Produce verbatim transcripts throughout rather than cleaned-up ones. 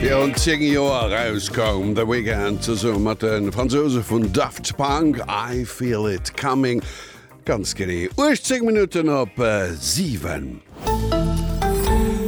Virun zéng Joer erauskoum The Weeknd zesumme mat de Fransouse vun Daft Punk, I Feel It Coming. Ganz genee uechtzéng Minutten op siwen.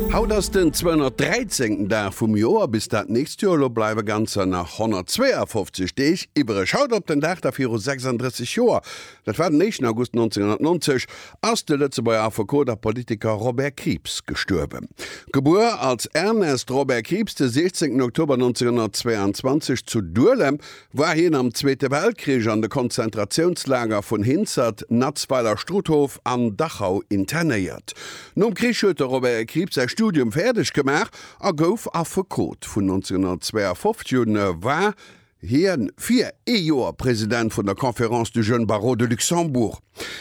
Haut ass den zweehonnertdräizéngten Dag vum Joer. Bis dat nächst Joer elo bleiwe ganzer nach honnertzweeafofzeg Deeg iwwereg. Haut op den Dag da viru sechsanddrësseg Joer, dat war den éischten August nonzénghonnertnonzeg, ass de Lëtzebuerger Affekot a Politiker Robert Krieps gestuerwen. Gebuer als Ernest Robert Krieps de siechzéngten Oktober nonzénghonnertzweeanzwanzeg zu Duelem, war hien am Zweete Weltkrich an de Konzentratiounslager vun Hinzert, Natzweiler-Struthof an Dachau internéiert. Nom Krich huet de Robert Krieps säi Studium fäerdeg gemaach a gouf Affekot. Vun nonzénghonnertzweeafofzeg un war hie fir ee Joer President vun der Conférence du Jeune Barreau de Luxembourg.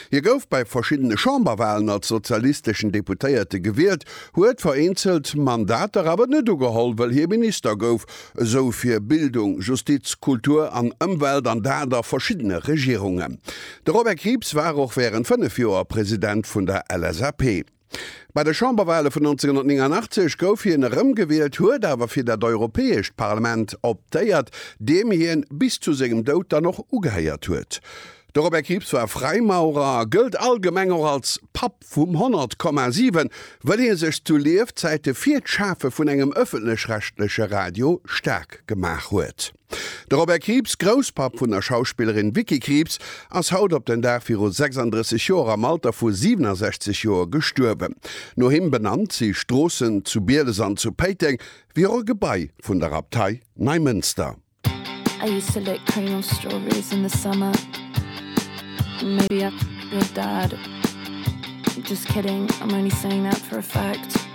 Hie gouf bei verschiddene Chamberwalen als sozialisteschen Deputéierte gewielt, huet vereenzelt Mandater awer net ugeholl, wëll hie Minister gouf, esou fir Bildung, Justiz, Kultur an Ëmwelt, an dat a verschiddene Regierungen. De Robert Krieps war och wärend fënnef Joer President vun der L S A P. Bei de Chamberwale vun nonzénghonnertnénganaachtzeg gouf hien erëmgewielt, huet awer fir dat Europäescht Parlament optéiert, deem hien bis zu sengem Doud dann och ugehéiert huet. De Robert Krieps war Fräimaurer a gëllt allgemeng och als Papp vum honnert Komma siwen, wëll hie sech zu Liefzäite fir d'Schafe vun engem ëffentlech-rechtleche Radio staark gemaach huet. De Robert Krieps, Grousspapp vun der Schauspillerin Vicky Krieps, ass haut op den Dag viru sechsanddrësseg Joer am Alter vu siwenesechzeg Joer gestuerwen. No him benannt si Stroossen zu Bieles an zu Péiteng, wéi och e Gebai vun der Abtei Neimënster. I used to lick cream of strawberries in the summer. Maybe I'm your dad. Just kidding, I'm only saying that for effect.